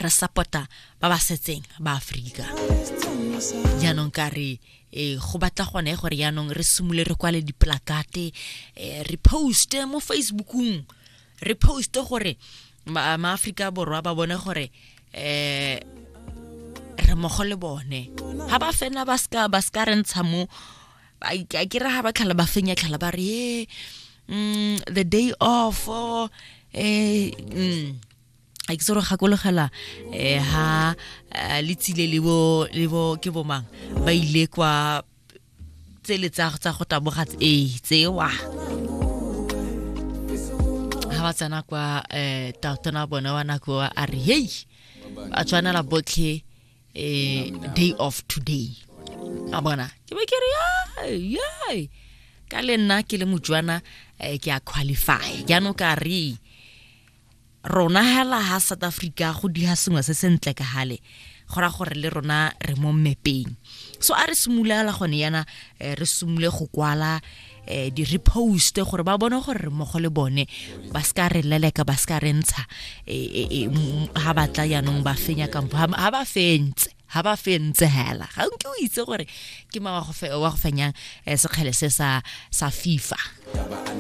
Re support-a ba ba setseng ba Aforika. Jaanong ka re go batla gone gore jaanong re simole re kwale diplakate, re poste mo Facebookong, re poste gore maaforika Borwa ba bone gore re mmogo le bone. Ga ba fena ba ska re ntsha mo a ke re ga ba tlhala ba fenya tlhala ba re the day off, oh, a ke se gore gakologela ha le tsile le bo ke bomang ba ile kwa tsele tsa go taboga tsewa ha ba tsena kwa tautona bone wa nako a re hey, ba tshwanela botlhe day of today. A bona ke be ke re ye ka le nna ke le Motswana, ke a qualify. Jaanong ka re rona hela ha South Africa go diga sengwe se sentle ka gale, go ra gore le rona re mo mmepeng. So a re simolola gone yana, re simole go kwala, di-repost gore ba bone gore re mmogo le bone, ba se ka re leleka, ba se ka re ntsha ha ba tla jaanong ba fenya kampo ha ba fentse, ha ba fentse hela. Ga nke o itse gore ke mang wa go fenyang sekgele se sa FIFA.